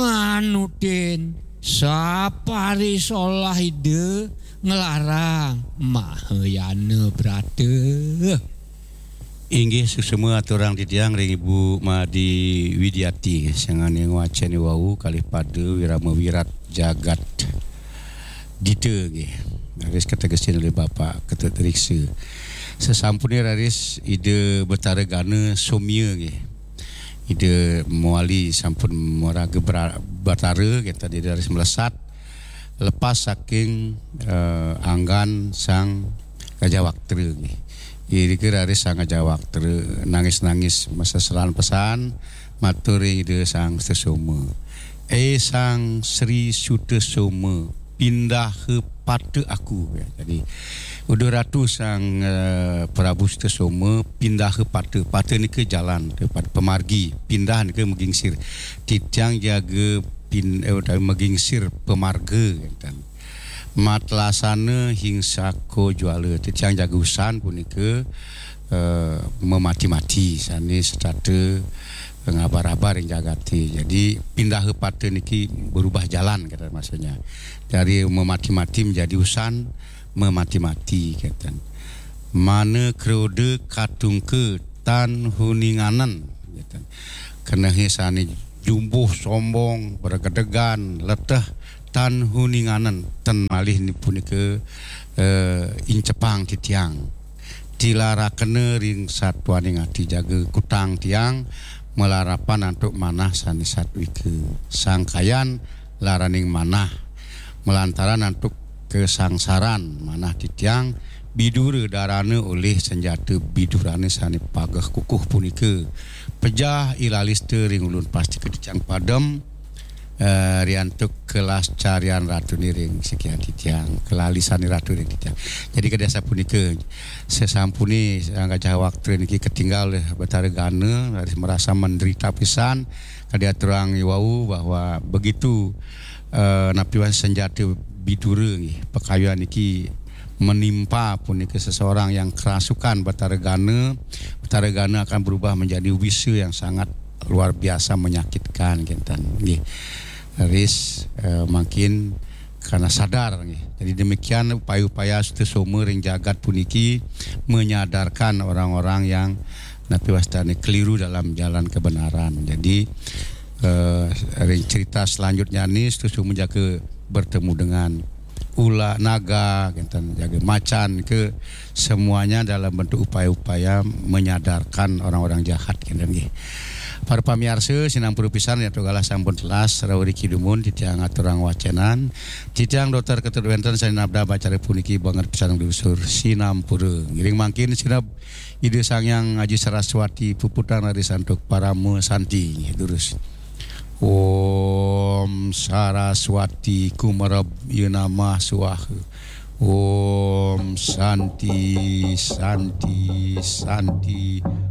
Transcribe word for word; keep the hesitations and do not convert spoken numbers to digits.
Manutin saparisolah Ida nglarang Mahayana Brata. Inggih, suksma aturang titiang ring Ibu Made Widiati, sangane ngwacen wau kalih pada Wirama Wirat Jagat Dita nggih. Raris kategesin olih Bapak Ketut Riksa. Sasampune raris Ida Betara Gana somia nggih. Ida mawali sampun maraga bra-, batara, kita Ida raris melesat lepas saking, eh, anggan Sang Gajah Waktra nggih. Irika raris Sang Gajah Waktra nangis-nangis maseselan pesan matur ring Ida Sang Sutasoma. "Eh Sang Sri Sutasoma, pindaha pata aku." Ya, jadi, uduh Ratu Sang, eh, Prabu Sutasoma, pindaha pata. Pata nika jalan, pada pemargi. Pindah nika magingsir. Titiang jaga pin-, eh, utawi magingsir pamarga, ngeten. Matlasana hingsaka jwala. Titiang jaga usan punika, eh, mamati-mati sane setata ngabar-abar ring jagate. Jadi, pindaha pata niki berubah jalan, kata maksudnya. Dari mamati-mati menjadi usan, mamati-mati, kata. Mana kroda katungka tan huninganen, kata. Kenehe sane jumbuh sombong, bergedegan, leteh, tan huninganen, ten malih ni punika, eh, incepang titiang. Tilarakena ring satuaning ati jaga kutang tiang, malarapan antuk manah sane satwika. Sangkayan laraning manah, malantaran antuk kasangsaran manah titiang, bidura darana olih sanjata bidurane sane pageh kukuh punika. Pejah ilalista ring ulun pastika titiang padem, eh, riantuk kelascarian ratune ring sikian titiang, kelalisane ratu ring titiang. Jadi kadi asapunika, sasampune Sang Gajah Waktra niki ketinggal olih Betara Gana, raris merasa menderita pisan, kadi aturang iwau bahwa begitu, eh, napi wan sanjata bidura nggih, pakayuan niki menimpa punika seseorang yang kerasukan Betara Gana, Betara Gana akan berubah menjadi wisa yang sangat luar biasa menyakitkan, kenten. Nggih. Raris, eh, mangkin karena sadar, nggih. Jadi demikian upaya-upaya Sutasoma ring jagat puniki menyadarkan orang-orang yang napi wastane keliru dalam jalan kebenaran. Jadi, eh, ring cerita selanjutnya ni Sutasoma jaga bertemu dengan ula naga, kenten, jaga macan, ke semuanya dalam bentuk upaya-upaya menyadarkan orang-orang jahat, kenten nggih. Para pamiarsa, sinampura pisan, ya, galah sampun telas, rawuh riki dumun, titiang aturang wacenan, titiang Doktor Ketut wenten sane nabdab acara puniki banget pisan nglusur, sinampura. Ngiring mangkin sineb Ida Sang Hyang Aji Saraswati puputang raris antuk parama santi. Nggih, durus. Om Saraswati kumarab ya namah swaha. Om Santi, Santi, Santi.